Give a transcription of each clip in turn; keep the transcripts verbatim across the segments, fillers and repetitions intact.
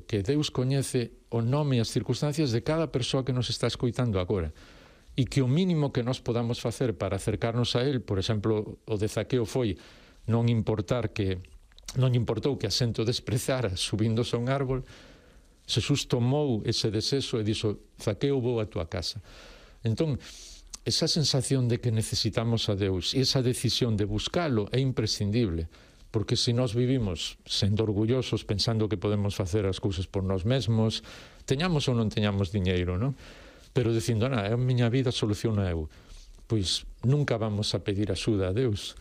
creo que Deus coñece o nome e as circunstancias de cada persoa que nos está escoitando agora, e que o mínimo que nos podamos facer para acercarnos a Él, por exemplo, o de Zaqueo foi non importar que non importou que asento desprezara subíndose a un árbol. Xesús tomou ese desexo e dixo: Zaqueo, vou a túa casa. Entón, esa sensación de que necesitamos a Deus e esa decisión de buscalo é imprescindible, porque se nós vivimos sendo orgullosos, pensando que podemos facer as cousas por nós mesmos, teñamos ou non teñamos diñeiro, non? Pero dicindo, na, a miña vida soluciona eu, pois nunca vamos a pedir axuda a Deus.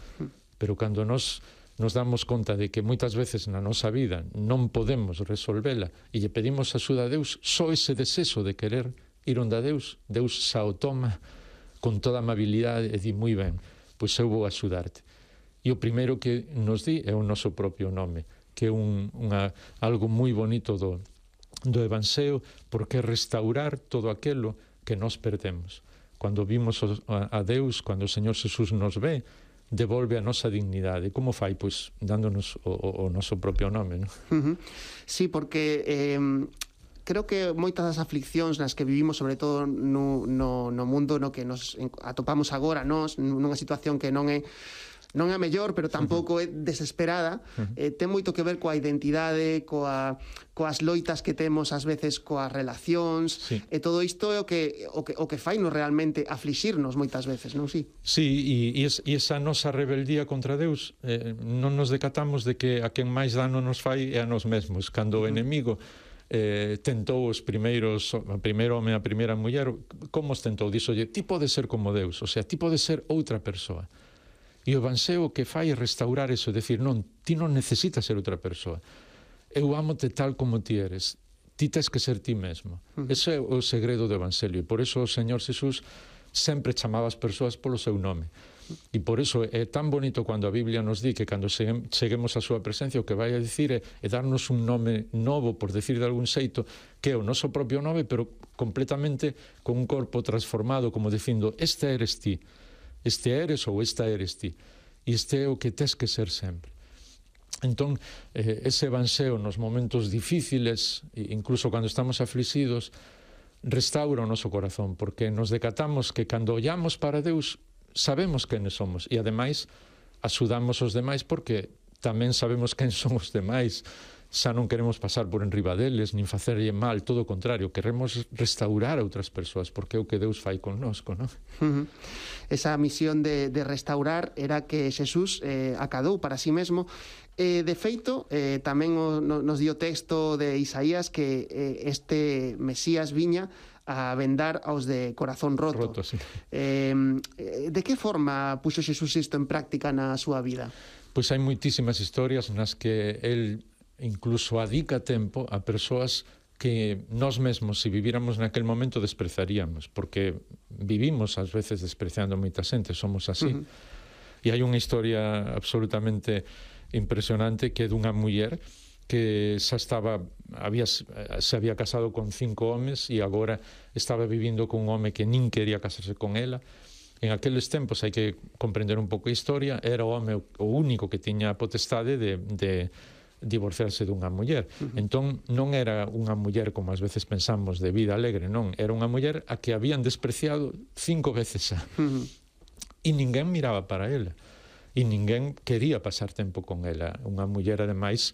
Pero cando nós nos damos conta de que moitas veces na nosa vida non podemos resolvela e lle pedimos axuda a Deus, só ese desexo de querer ir onde a Deus, Deus xa o toma con toda amabilidade e di, moi ben, pois eu vou axudarte. E o primeiro que nos di é o noso propio nome, que é un, unha, algo moi bonito do, do Evanxeo, porque é restaurar todo aquilo que nós perdemos. Cando vimos a, a Deus, cando o Señor Xesús nos ve, devolve a nosa dignidade. Como fai? Pois dándonos o, o, o noso propio nome, non? Uh-huh. Sí, porque eh, creo que moitas das afliccións nas que vivimos, sobre todo no, no, no mundo no que nos atopamos agora, nós, nunha situación que non é non é a mellor, pero tampouco é desesperada, eh, ten moito que ver coa identidade, coa, coas loitas que temos ás veces coas relacións, sí. E todo isto é o que, o que, o que fai nos realmente aflixirnos moitas veces, non? Sí, sí, e, e, es, e esa nosa rebeldía contra Deus, eh, non nos decatamos de que a quen máis dano nos fai é a nós mesmos. Cando o enemigo eh, tentou os primeiros, o primeiro home e a primeira muller, como os tentou? Díxolle, ti podes ser como Deus, o sea, ti podes ser outra persoa. E o Evanxeo que fai é restaurar eso, decir, non, ti non necesitas ser outra persoa. Eu amo-te tal como ti eres. Ti tes que ser ti mesmo. Uh-huh. Ese é o segredo do Evanxelio. E por eso o Señor Xesús sempre chamaba as persoas polo seu nome. E por eso é tan bonito cando a Biblia nos di que cando cheguemos á súa presencia o que vai a dicir é, é darnos un nome novo, por decir de algún xeito, que é o noso propio nome, pero completamente con un corpo transformado, como dicindo, este eres ti. Este eres ou esta eres ti. E este é o que tes que ser sempre. Entón, eh, ese Evanxeo nos momentos difíciles, incluso cando estamos aflixidos, restaura o noso corazón, porque nos decatamos que cando ollamos para Deus, sabemos quenes somos, e ademais, axudamos os demais porque tamén sabemos quen son os demais. Xa non queremos pasar por enriba deles, nin facerlle mal, todo o contrario, queremos restaurar a outras persoas, porque é o que Deus fai connosco, non? Uh-huh. Esa misión de, de restaurar era que Xesús eh, acadou para sí mesmo. Eh, de feito, eh, tamén o, no, nos dio texto de Isaías que eh, este Mesías viña a vendar aos de corazón roto. roto sí. eh, de que forma puxo Xesús isto en práctica na súa vida? Pois hai moitísimas historias nas que el incluso adica tempo a persoas que nós mesmos, se viviramos naquel momento, desprezaríamos, porque vivimos ás veces despreciando moita xente, somos así. Uh-huh. E hai unha historia absolutamente impresionante que é dunha muller que xa estaba, había, se había casado con cinco homes e agora estaba vivindo con un home que nin quería casarse con ela. En aqueles tempos, hai que comprender un pouco a historia, era o home o único que tiña a potestade de, de divorciarse dunha muller. Uh-huh. Entón, non era unha muller, como ás veces pensamos, de vida alegre, non. Era unha muller a que habían despreciado cinco veces xa. Uh-huh. E ninguén miraba para ela. E ninguén quería pasar tempo con ela. Unha muller, ademais,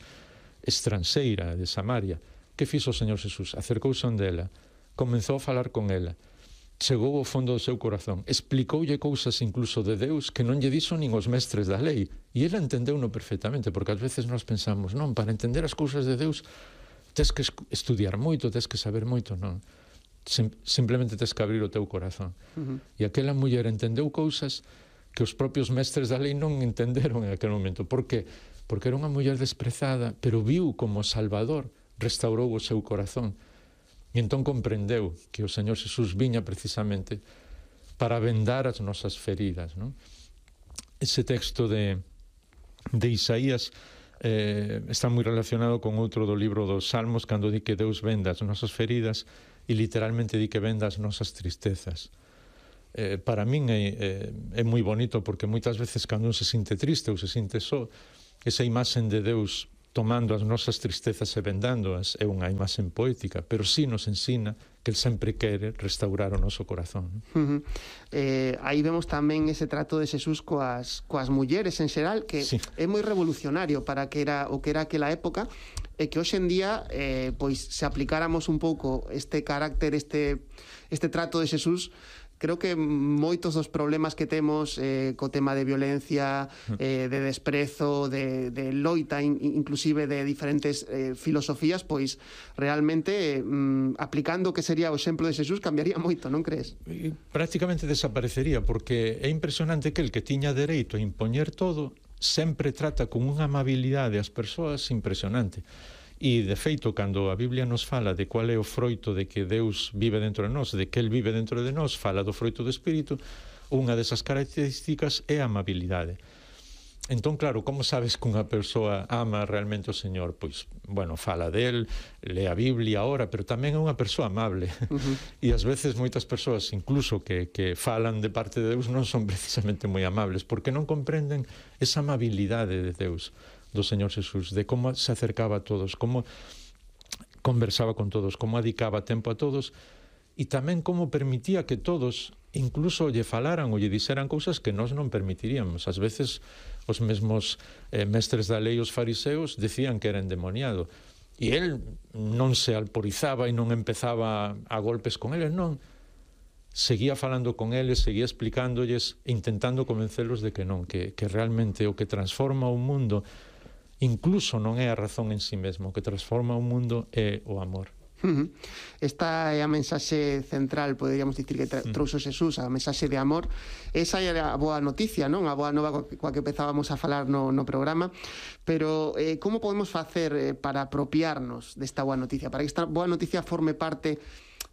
estranxeira de Samaria. Que fixo o Señor Xesús? Acercouse onde ela, comenzou a falar con ela, chegou ao fondo do seu corazón, explicoulle cousas incluso de Deus que non lle dixo nin os mestres da lei, e ela entendeu-no perfectamente, porque ás veces nós pensamos, non, para entender as cousas de Deus tes que estudiar moito, tes que saber moito, non, Sim, simplemente tes que abrir o teu corazón. Uh-huh. E aquela muller entendeu cousas que os propios mestres da lei non entenderon en aquel momento. Por que? Porque era unha muller desprezada, pero viu como Salvador restaurou o seu corazón. E entón comprendeu que o Señor Xesús viña precisamente para vendar as nosas feridas, non? Ese texto de, de Isaías eh, está moi relacionado con outro do libro dos Salmos, cando di que Deus venda as nosas feridas e literalmente di que venda as nosas tristezas. Eh, para min é, é, é moi bonito, porque moitas veces cando un se sinte triste ou se sinte só, esa imaxen de Deus tomando as nosas tristezas e vendándoas, é unha imaxe poética, pero sí nos ensina que el sempre quere restaurar o noso corazón. Uh -huh. eh, aí vemos tamén ese trato de Xesús coas, coas mulleres en xeral, que sí. é moi revolucionario para que era o que era aquela época, e que hoxe en día eh, pois se aplicáramos un pouco este carácter, este, este trato de Xesús, creo que moitos dos problemas que temos eh, co tema de violencia, eh, de desprezo, de, de loita, in, inclusive de diferentes eh, filosofías, pois realmente eh, mm, aplicando o que sería o exemplo de Xesús cambiaría moito, non crees? E prácticamente desaparecería, porque é impresionante que el que tiña dereito a impoñer todo sempre trata con unha amabilidade as persoas impresionante. E, de feito, cando a Biblia nos fala de cual é o froito de que Deus vive dentro de nós, de que Él vive dentro de nós, fala do froito do Espírito, unha desas características é a amabilidade. Entón, claro, como sabes que unha persoa ama realmente o Señor? Pois, bueno, fala del, lee a Biblia ahora, pero tamén é unha persoa amable. Uh-huh. E ás veces moitas persoas, incluso que, que falan de parte de Deus, non son precisamente moi amables, porque non comprenden esa amabilidade de Deus, do Señor Xesús, de como se acercaba a todos, como conversaba con todos, como dedicaba tempo a todos, e tamén como permitía que todos incluso lle falaran ou lle dixeran cousas que nós non permitiríamos. Ás veces os mesmos eh, mestres da lei, os fariseos, decían que era endemoniado, e el non se alporizaba e non empezaba a golpes con eles, non. Seguía falando con eles, seguía explicándolles, intentando convencelos de que non, que, que realmente o que transforma o mundo incluso non é a razón en sí mesmo, o que transforma o mundo é o amor. Uh -huh. Esta é a mensaxe central, poderíamos dicir, que trouxo Xesús, a mensaxe de amor. Esa é a boa noticia, non? A boa nova coa que empezábamos a falar no, no programa. Pero eh, como podemos facer eh, para apropiarnos desta boa noticia, para que esta boa noticia forme parte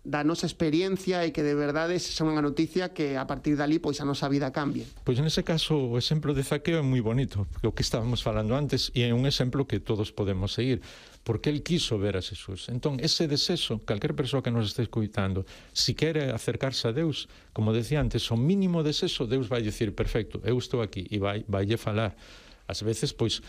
da nosa experiencia e que de verdade sexa unha noticia que a partir dali pois a nosa vida cambie? Pois nese caso o exemplo de Zaqueo é moi bonito, o que estábamos falando antes, e é un exemplo que todos podemos seguir, porque el quiso ver a Xesús. Entón, ese desexo, calquer persoa que nos este escoitando, si quere acercarse a Deus, como decía antes, o mínimo desexo, Deus vai dicir, perfecto, eu estou aquí, e vai, vaille falar. Ás veces, pois,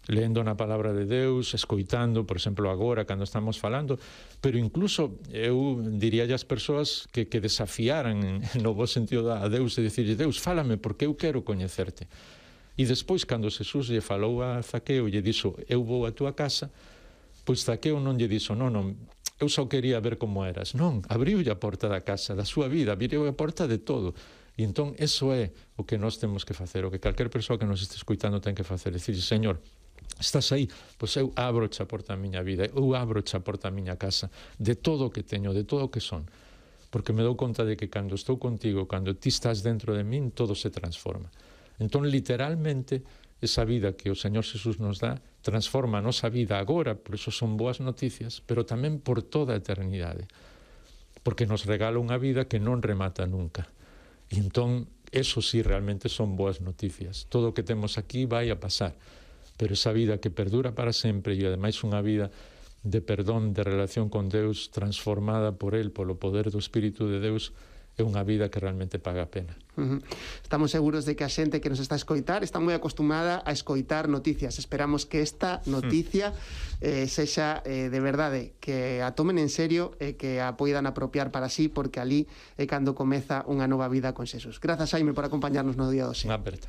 lendo na palabra de Deus, escoitando, por exemplo, agora, cando estamos falando, pero incluso eu diría ás persoas que, que desafiaran no bo sentido a Deus e dicirlle, Deus, fálame porque eu quero coñecerte. E despois, cando Xesús lle falou a Zaqueo e lle dixo, eu vou a túa casa, pois Zaqueo non lle dixo, non, non, eu só quería ver como eras. Non, abriulle a porta da casa, da súa vida, abriu a porta de todo. E entón, eso é o que nós temos que facer, o que calquer persoa que nos este escoitando ten que facer, dicir, Señor, estás aí, pois eu abroche a porta da miña vida, eu abroche a porta da miña casa, de todo o que teño, de todo o que son, porque me dou conta de que cando estou contigo, cando ti estás dentro de min, todo se transforma. Entón, literalmente, esa vida que o Señor Xesús nos dá, transforma a nosa vida agora, por iso son boas noticias, pero tamén por toda a eternidade, porque nos regala unha vida que non remata nunca. E entón, eso sí realmente son boas noticias. Todo o que temos aquí vai a pasar, pero esa vida que perdura para sempre e ademais unha vida de perdón, de relación con Deus transformada por Él, polo poder do Espírito de Deus, é unha vida que realmente paga a pena. Uh -huh. Estamos seguros de que a xente que nos está a escoitar está moi acostumada a escoitar noticias. Esperamos que esta noticia eh, sexa eh, de verdade, que a tomen en serio e que a poidan apropiar para sí, porque ali é cando comeza unha nova vida con Xesús. Grazas, Xaime, por acompañarnos no día doce. Unha aperta.